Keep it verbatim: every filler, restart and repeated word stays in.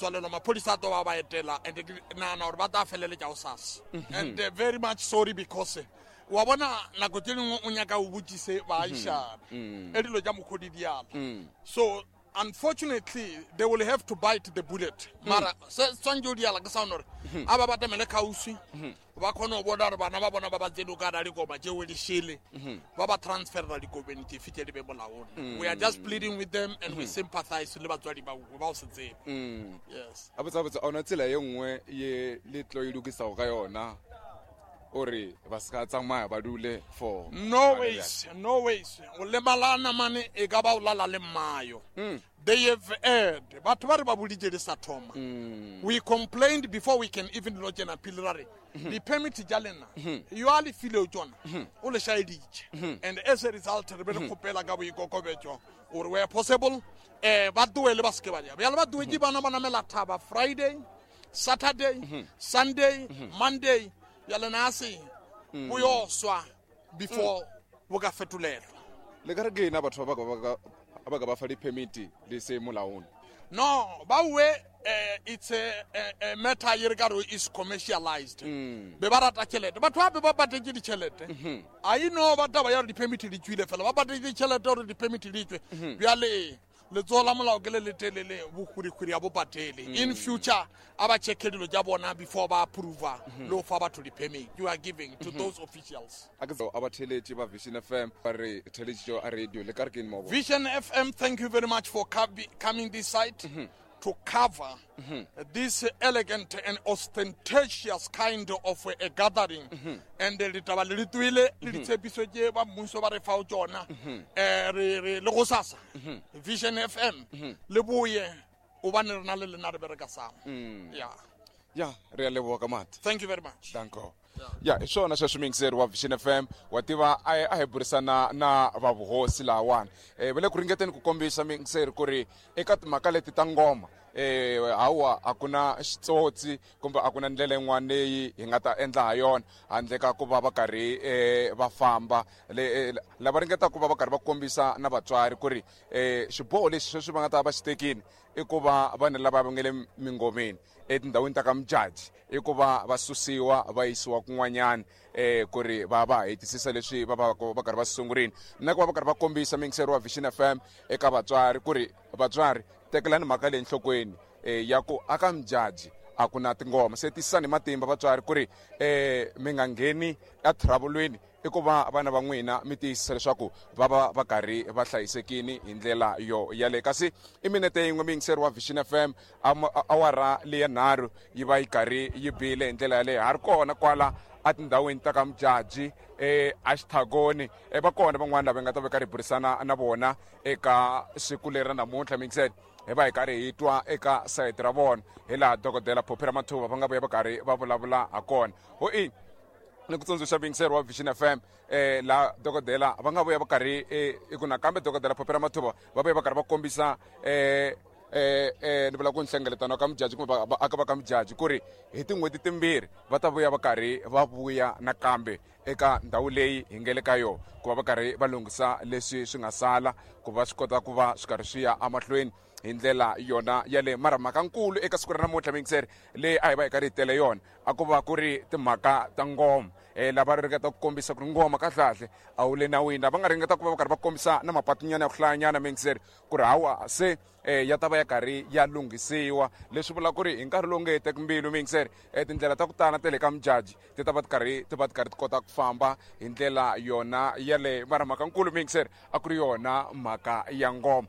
Tswalelwa, maphodisa a tlo ba ba etela, and ke nagana gore ba tla feleletša go sasa. And uh, very much sorry, because eh, wa bona nako tse dingwe o nyaka o botsise baagišane e dilo tša mokgodi diala. So unfortunately they will have to bite the bullet, mara se tshwanetse o diala ke sa gore a ba batamele kgauswi, ba kgone go bona gore bana ba bona ba ba tsene o ka ra dikoma tšeo di šele, ba ba transferra dikobeng dife tše di be molaong. We are just pleading with them and we sympathize le batswadi ba ba go se tsebe. Yes. A botsa botsa, a ona tsela ye nngwe ye le tlo e lokisago ka yona ore ba se ka tsamaya, ba dule for No ways, no ways. O lemalana mane e ka ba o lala le mmayo. They have erred. Batho ba re ba boditše di sa thoma. We complained before we can even lodge an appeal, ra re di-permit tša lena yo a le fileo tsona o le šaeditše, and as a result re be re kgopela ka boikokobetšo gore where possible um ba tloele, ba seke ba ja bjale ba tloetše bana ba namela thaba Friday, Saturday, Sunday, Monday. Bjale na se bo yo swa before bo ka fetolelwa. Le ka re ke ena batho ba ba ka ba ka ba fa di-permit le se molaong? No, bawe, uh, it's a, a, a matter ye re ka re is commercialized. Be ba rata tšhelete batho gape, ba patetse ditšhelete. A e no ba taba ya gore di-permit di tswile fela, ba patetse ditšhelete gore di-permit di tswe. Bjale letsogo la molao ke le letelele, bohwirihwiri ya bo patele. In future a ba checke dilo tša bona before ba approva le go fa batho di-permit. You are giving to those officials. A ke a ba theletše ba Vision F M, ba re theletšitšo a radio, le ka re ke eng mo go? Vision F M, thank you very much for co- coming this side to cover this elegant and ostentatious kind of a gathering. And ditaba le di tswile le ditshepiso tše ba mmuso ba re fao tšona. Eh, re re le go sasa Vision F M le boye, obane re na le lena re bereka sama. Yeah. Ya, re a leboga ka mati. Thank you very much. Danko. Ya, hi swona sweswo, muyingiseri wa Vision F M. Wa tiva a hi a hi burisana na va vuhosi lahawani, um va le ku ringeteni ku kombisa, muyingiseri, ku ri eka timhaka leti ta ngoma, eh hawa, a ku na xitsotsi kumbe a ku na ndlela yin'wana leyi hi nga ta endla ha yona handle ka ku va va karhi eh, va famba le eh, lava ringetaka ku va va karhi va kombisa na vatswari ku ri eh, xiboho lexi sweswi va nga ta va xi tekini i ku va vanhu lava va nga le mingomeni etindhawini ta ka Mujaji i ku va va susiwa va yisiwa kun'wanyana, eh ku ri va va hetisisa leswi va va va karhi va swi sungurini, na ku va va karhi va kombisa, muyingiseri wa Vision F M, eka vatswari ku ri vatswari, tekelani mhaka leyi enhlokweni eh, ya ku aka Mujaji a ku na tingoma. Se tisani matimba vatswari ku ri eh mi nga ngheni etrouble-lweni, i ku va vana va n'wina mi tiyisisa leswaku va va va karhi va hlayisekini hi ndlela yo yaleyo. Kasi i minete yin'we, muyingiseri wa Vision F M, awara leya nharhu yi va yi karhi yi bile hi ndlela yaleyo. Ha ri kona kwala etindhawini ta ka Mujaji, eh axithagoni. eh, va kona van'wana lava hi nga ta va karhi hi burisana na vona eka siku leri ra namuntlha, muyingiseri, hi va hi karhi hi twa eka sayiti ra vona, hi laha Dokodela Phophi Ramathuva va nga vuya va karhi va vulavula ha kona. Ho i ni ku tsundzuxa, muyingiseri wa Vision F M, eh laha dokodela va nga vuya va karhi eh, i ku nakambe Dokodela Phophi Ramathuva va vuya va karhi va kombisa eh eh eh ni vula ku nhlengeletano ka Mujaji kumbe vaaka va ka Mujaji ku ri hi tin'hweti timbirhi va ta vuya va karhi va vuya nakambe eka ndhawu leyi hi nga le ka yona, ku va va karhi va lunghisa leswi swi nga sala, ku va swi kota ku va swi karhi swi ya emahlweni hi ndlela yona yaleyo. Mara mhaka nkulu eka siku ra namuntlha, muyingiseri, leyi a hi va hi karhi hi tele yona, a ku va ku ri timhaka ta ngoma, um lava ringeta ku kombisa ku ri ngoma kahlekahle a wu le nawini, lava nga ringeta ku va va karhi va kombisa na mapatunyana ya ku hlayanyana, muyingiseri, ku ri hawa se eh, ya ta va ya karhi ya lunghisiwa, leswi vula ku ri hi nkarhi lowu nge heteki mbilu, muyingiseri, eh, tindlela ta ku tala ta le ka Mujaji ti ta va ti karhi ti va ti karhi ti kota ku famba hi ndlela yona yaleyo. Mara mhaka nkulu, muyingiseri, a ku ri yona mhaka ya ngoma.